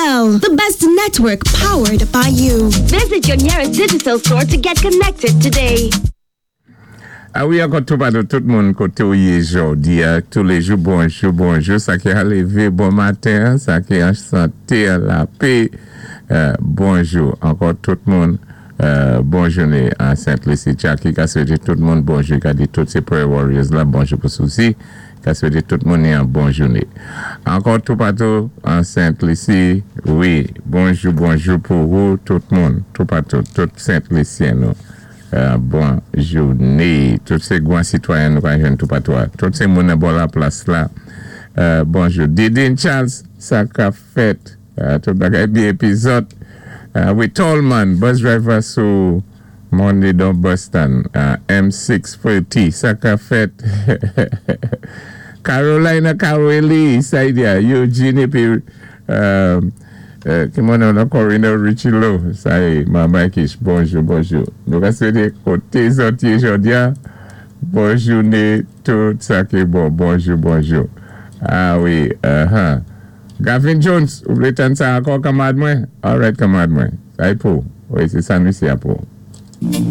Digicel, the best network powered by you. Visit your nearest Digicel store to get connected today. A wi, ankò toupatou, tout moun koté ou yé jòdi-a, touléjou, bonjou, bonjou, sa ki a lévé bon maten, sa ki an santé, an lapé, bonjou, ankò tout moun, bon jouné an Sent Lisi. Jackie ka swété tout moun bonjou, ka di tout sé Prayer Warriors la, bonjou pou Suzy, ka swété tout moun yon bon jouné. Ankò toupatou an Sent Lisi, wi, bonjou, bonjou pou ou, tout moun, toupatou, tout Sent Lisyen nou. Bon jouné. Tout sé gwan sitwayen nou ka jwenn toupatou a. Tout sé moun nan bò laplas la. Bonjou. Didine Charles, sa ka fèt. Tout bagay byen épi zòt. Wi, Tallman, bus driver sou Monedon bus stand. M640, sa ka fèt. Carolina Caroli, Saidia, Eugene épi ki moun nan Corina Richilo, sa yé, Mama Kish, bonjou, bonjou. Nou ka swété koté zòt yé jòdi-a, bon jouné, tout sa ki bon, bonjou, bonjou. A wi, Gavin Jones, ou vlé tann sa ankò, kanmarad mwen? Alright, kanmarad mwen. Sa yé pou. Wi, sé sa nou isi a pou.